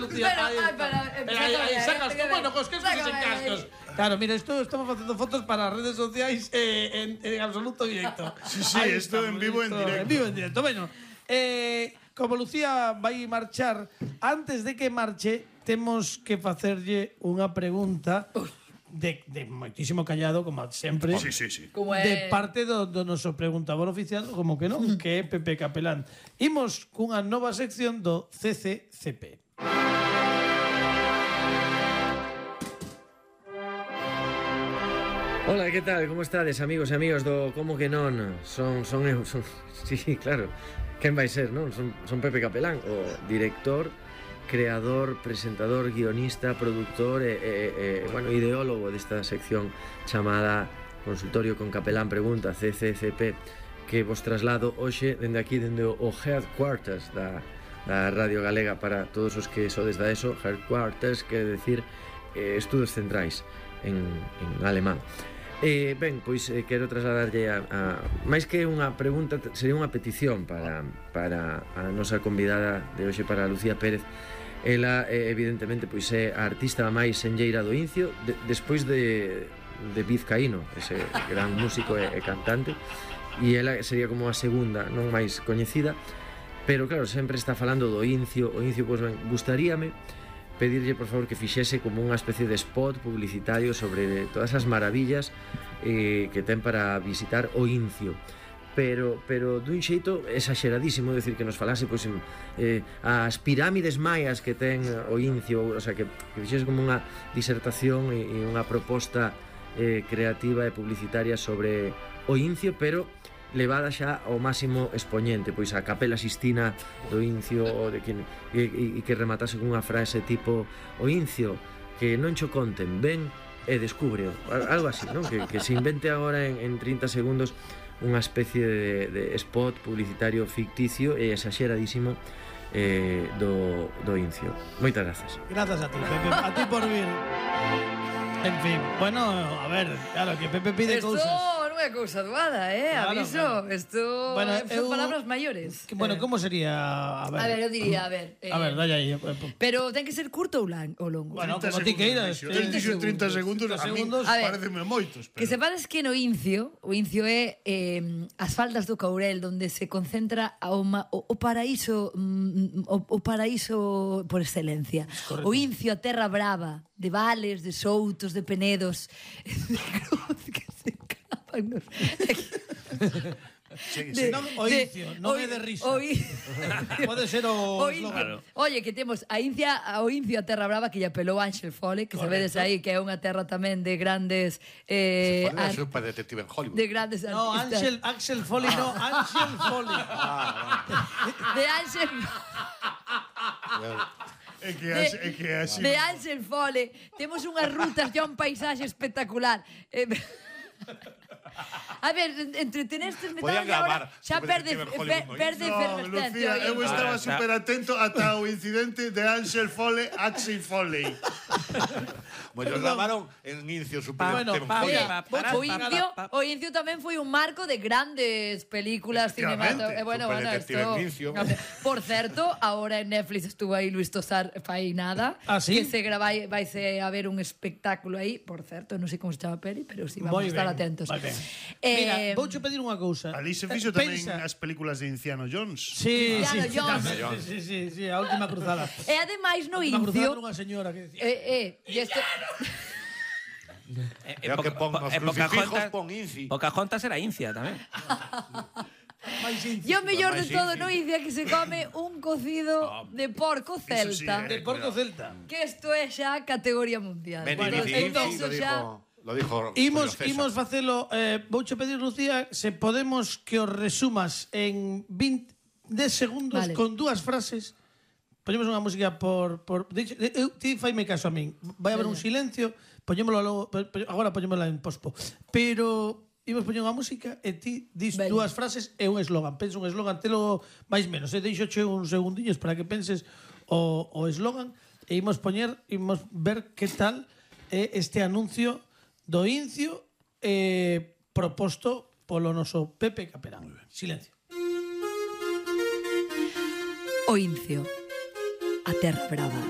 Lucía. Aí sacas como, bueno, cos cascos e sen cascos. Claro, mira, estamos facendo fotos para as redes sociais en absoluto directo. Sí, isto en vivo en directo. En vivo en directo, bueno. Como Lucía vai marchar, antes de que marche, temos que facerlle unha pregunta de moitísimo callado, como sempre. Sí. De parte do noso preguntador oficial, como que non, que é Pepe Capelán. Imos cunha nova sección do CCCP. Hola, que tal? Como estades, amigos e amigas do Como que non? Son eu, sí, claro. Quen vai ser, non? Son Pepe Capelán, o director, creador, presentador, guionista, productor bueno, ideólogo desta sección chamada Consultorio con Capelán Pregunta, CCCP, que vos traslado hoxe dende aquí, dende o headquarters da Radio Galega para todos os que sodes da ESO. Headquarters quere decir estudos centrais en alemán. Ben, pois quero trasladarlle a máis que unha pregunta, sería unha petición para a nosa convidada de hoxe, para Lucía Pérez. Ela, evidentemente, pois é a artista máis senlleira do Incio, despois de Vizcaíno, ese gran músico e cantante, e ela sería como a segunda, non máis coñecida, pero claro, sempre está falando do Incio. O Incio, pois ben, gustaríame pedirlle, por favor, que fixese como unha especie de spot publicitario sobre todas as maravillas que ten para visitar o Incio, pero dun xeito exageradísimo, decir, que nos falase pois as pirámides maias que ten o Incio, o sea, que fixese como unha disertación e unha proposta creativa e publicitaria sobre o Incio, pero levada xa ao máximo expoñente, pois a Capela Sistina do Incio, e que rematase con unha frase tipo: o Incio, que non cho conten, ven e descubre, algo así, non? Que se invente agora en 30 segundos unha especie de spot publicitario ficticio e exageradísimo do Incio. Moitas grazas. Grazas a ti, Pepe, a ti por vir. En fin, bueno, a ver, claro, que Pepe pide cousas. Non é cousa doada, aviso. Claro. Isto son palabras maiores. Bueno, como sería? A ver, eu diría, a ver, dalle aí. pero ten que ser curto ou longo. Bueno, como ti queiras. 30 segundos, a mí pareceme moitos. Que sepades que no Incio, o Incio é as faldas do Courel, onde se concentra o paraíso por excelencia. O Incio, a terra brava, de vales, de soutos, de penedos, de cruz que se capan nos... Non o Incio, non é de risa. Pode ser o eslogan. Oye, que temos o Incio, a terra brava, que lle apelou Ángel Fole, que sabedes aí que é unha terra tamén de grandes Fole é super detective en Hollywood. de grandes artistas. No, Axel Foley, no, Ángel Foley. De Ángel de Ángel Fole. Temos unhas rutas e un paisaxe espectacular. A ver, entretenestes me Podían gravar. Xa perde efervescencia. Lucía, eu estaba super atento ata o incidente de Axel Foley. Bueno, gravaron en Incio super O Incio tamén foi un marco de grandes películas cinematográficas. Por certo, ahora en Netflix estuvo aí Luis Tosar fai nada. Que se vaise a ver un espectáculo aí. Por certo, non sei como se chama a peli, pero si vamos a estar atentos. Mira, vouche pedir unha cousa. Ali se fixo tamén as películas de Indiana Jones. Sí, a última cruzada. E ademais no Incio Incio unha señora que decía que pon os crucifijos, pon Inci. Pocahontas era Incia tamén. E o mellor de todo no Incio que se come un cocido de porco celta. De porco celta. Que isto é xa categoría mundial. Lo dijo. Imos facelo. Vouche pedir, Lucía, se podemos que os resumas en 10 segundos con dúas frases. Poñemos unha música por ti faime caso a min. Vai haber un silencio, poñémolo logo, agora poñémola en pospo. Pero imos poñer unha música e ti dis dúas frases e un eslogan. Pensa un eslogan, telo máis menos, deixoche uns segundiños para que penses o eslogan e imos ver que tal é este anuncio do Incio proposto polo noso Pepe Capelán. Silencio. O Incio, a terra brava.